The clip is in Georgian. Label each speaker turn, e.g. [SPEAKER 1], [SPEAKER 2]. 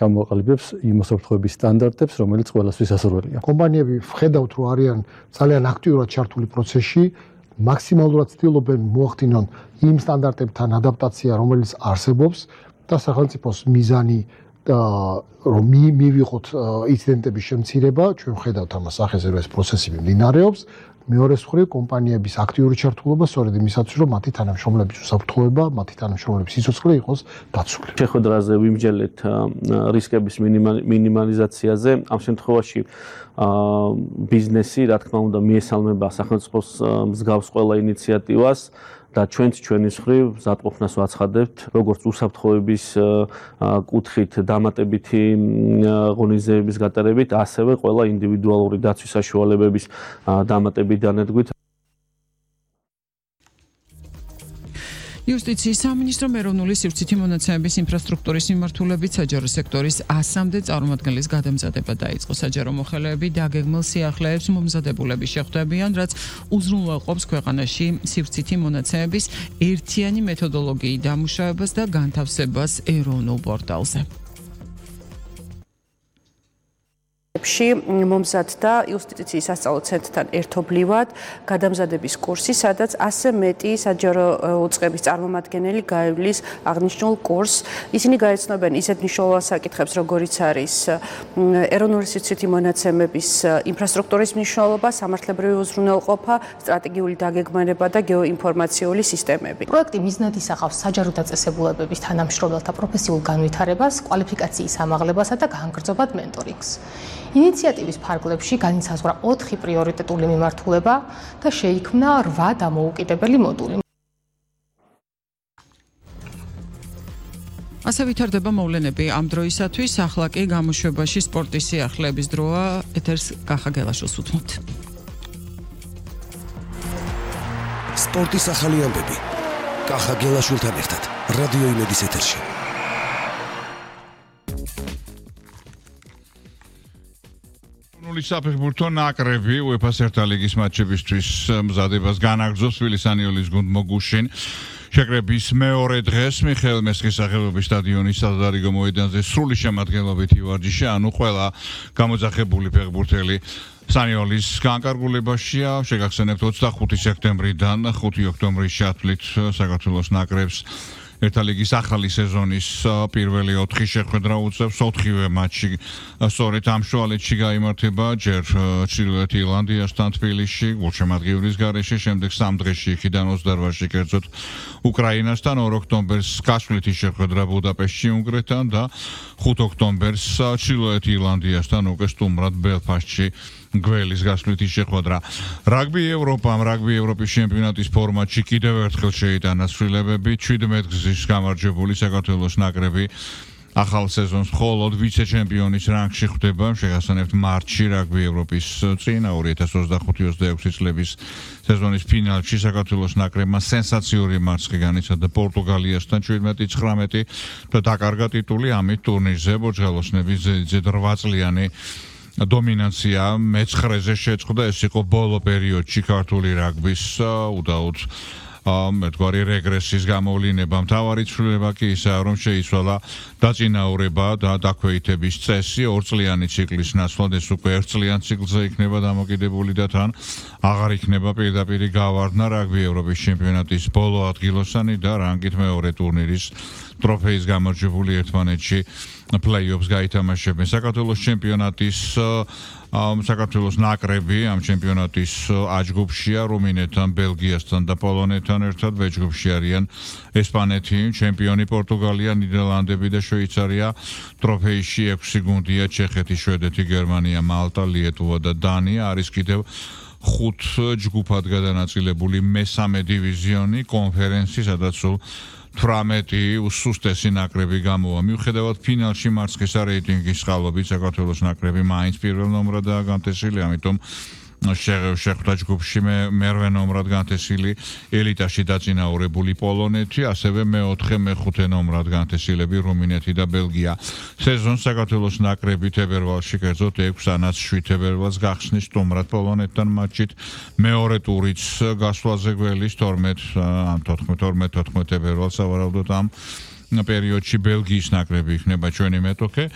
[SPEAKER 1] ჩამოაყალიბებს იმ უსაფრთხოების სტანდარტებს, რომელიც ყველასთვის ასურველია.
[SPEAKER 2] კომპანიები ვხედავთ, რომ არიან ძალიან აქტიურად ჩართული პროცესში, მაქსიმალურად ცდილობენ მოახდინონ იმ სტანდარტებთან ადაპტაცია, რომელიც არსებობს და სახელმწიფოს მიზანი რომ მივიღოთ ინციდენტების შემცირება, ჩვენ ვხედავთ ამას სახეზე, რომ ეს პროცესი მიმდინარეობს. მეორე მხრივ კომპანიების აქტიური ჩართულობა სწორედ იმისათვის, რომ მათი თანამშრომლების უსაფრთხოება, მათი თანამშრომლების სიცოცხლე იყოს დაცული.
[SPEAKER 3] შეხვედრაზე ვიმსჯელეთ რისკების მინიმალიზაციაზე. ამ შემთხვევაში ბიზნესი, რა თქმა უნდა, მიესალმება სახელმწიფოს მსგავს ყველა ინიციატივას. და ჩვენც ჩვენის მხრივ მზადყოფნას ვაცხადებთ, როგორც უსაფრთხოების კუთხით დამატებითი ღონისძიებების გატარებით, ასევე ყველა ინდივიდუალური დაცვის საშუალებების დამატებით დანერგვით.
[SPEAKER 4] იუსტიციის სამინისტრომ ეროვნული სივრცითი მონაცემების ინფრასტრუქტურის მიმართულებით საჯარო სექტორის 100-მდე წარმომადგენლის გადამზადება დაიწყო. საჯარო მოხელეები დაგეგმილ სიახლეებს მომზადებულები შეხვდებიან, რაც უზრუნველყოფს ქვეყანაში სივრცითი მონაცემების ერთიანი მეთოდოლოგიის დამუშავებას და განთავსებას ეროვნულ პორტალზე.
[SPEAKER 5] მომზადდა იუსტიციის სასწავლო ცენტრთან ერთობლივად გადამზადების კურსი, სადაც 100 მეტი საჯარო უწყების წარმომადგენელი გაივლის აღნიშნულ კურსს. ისინი გაეცნობენ ისეთ მნიშვნელოვან საკითხებს, როგორიც არის ეროვნული სივრცითი მონაცემების ინფრასტრუქტურის მნიშვნელობა, სამართლებრივი უზრუნველყოფა, სტრატეგიული დაგეგმარება და გეოინფორმაციული სისტემები.
[SPEAKER 6] პროექტი მიზნად ისახავს საჯარო დაწესებულებების თანამშრომელთა პროფესიულ განვითარებას, კვალიფიკაციის ამაღლებასა და განგრძობად მენტორინგს. ინიციატივის ფარგლებში განისაზღვრა 4 პრიორიტეტული მიმართულება და შეიქმნა 8 დამოუკიდებელი მოდული.
[SPEAKER 4] ასე ვითარდება მოვლენები ამ დროისათვის, ახლა კი გამოშვებაში სპორტის სიახლეების დროა. ეთერს კახა გელაშვილს უთმობთ.
[SPEAKER 7] სპორტის ახალი ამბები კახა გელაშვილთან ერთად რადიო იმედის ეთერში.
[SPEAKER 8] საფეხბურთო ნაკრები UEFA-ს ერთა ლიგის მატჩებისთვის მზადებას განაგრძობს თბილისის ანიოლის გუნდ მოგუშინ. შეკრების მეორე დღეს მიხეილ მესხის სახელობის სტადიონის სადარიგო მოედანზე სრული შემადგენლობით ივარჯიშე, ანუ ყველა გამოძახებული ფეხბურთელი სანიოლის განკარგულებაშია. შეგახსენებთ 25 სექტემბრიდან 5 ოქტომბრის ჩათვლით საქართველოს ნაკრებს ერთა ლიგის ახალი სეზონის პირველი 4 შეხვედრა უწევს. 4-ვე მატჩი სწორედ ამ შუალედში გაიმართება, ჯერ ჩრდილოეთ ირლანდიასთან თბილისში, გულშემატკივრის გარეშე, შემდეგ 3 დღეში იქიდან 28-ში კერძოდ უკრაინასთან, 2 ოქტომბერს გასვლითი შეხვედრა ბუდაპეშტში უნგრეთთან და 5 ოქტომბერს ჩრდილოეთ ირლანდიასთან უკვე სტუმრად ბელფასტში გველის გასვლითი შეხვედრა. რაგბი ევროპის ჩემპიონატის ფორმატში კიდევ ერთხელ შეიტანა ცვლილებები. 17 გზის გამარჯვებული საქართველოს ნაკრები ახალ სეზონს მხოლოდ ვიცე-ჩემპიონის რანგში ხვდება. შეგახსენებთ მარტში რაგბი ევროპის წინა 2025-26 წლების სეზონის ფინალში საქართველოს ნაკრებმა სენსაციური მარცხი განიცადა პორტუგალიასთან 17-19 და დაკარგა ტიტული. ამით ტურნირზე ბოჯგალოსნების ზედ 8 წლიანი დომინანცია მე-9-ზე შეწყდა. ეს იყო ბოლო პერიოდში ქართული რაგბის უდაოდ მეტგვარი რეგრესის გამოვლინება. მთავარი ცვლილება კი ისაა, რომ შეიცვალა დაწინაურება და დაქვეითების წესი. 2 წლიანი ციკლის ნაცვლად ეს უკვე 1 წლიან ციკლზე იქნება დამოკიდებული და თან აღარ იქნება პირდაპირი გავარდნა რაგბი ევროპის ჩემპიონატის ბოლო ადგილოსანი და რანგით მეორე ტურნირის ტროფეის გამარჯვებული ერთმანეთში პლეი-ოფს გაითამაშებენ. საქართველოს ჩემპიონატის საქართველოს ნაკრები ამ ჩემპიონატის A-ჯგუფშია რუმინეთთან, ბელგიასთან და პოლონეთთან ერთად. B-ჯგუფში არიან ესპანეთი, ჩემპიონი პორტუგალია, ნიდერლანდები და შვეიცარია. ტროფეიში 6 გუნდია: ჩეხეთი, შვედეთი, გერმანია, მალტა, ლიეტუვა და დანია. არის კიდევ 5 ჯგუფად გადანაწილებული მესამე დივიზიონი კონფერენცი, სადაც სულ 18 უსუსტესი ნაკრები გამოვა. მიუხედავად ფინალში მარცხისა რეიტინგის წყალობით საქართველოს ნაკრები მაინც პირველ ნომრადაა განთესილი, ამიტომ შეხვდა ჯგუფში მერვე ნომრად განთესილი ელიტაში დაწინაურებული პოლონეთი, ასევე მე-4, მე-5 ნომრად განთესილები რუმინეთი და ბელგია. სეზონს საქართველოს ნაკრები თებერვალში კერძოდ 6-ანაც 7 თებერვალს გახსნის სტუმრად პოლონეთთან მატჩით. მეორე ტურიც გასვლაზე გველის 12-14 თებერვალს სავარაუდოდ ამ პერიოდში ბელგიის ნაკრები იქნება ჩვენი მეტოქე.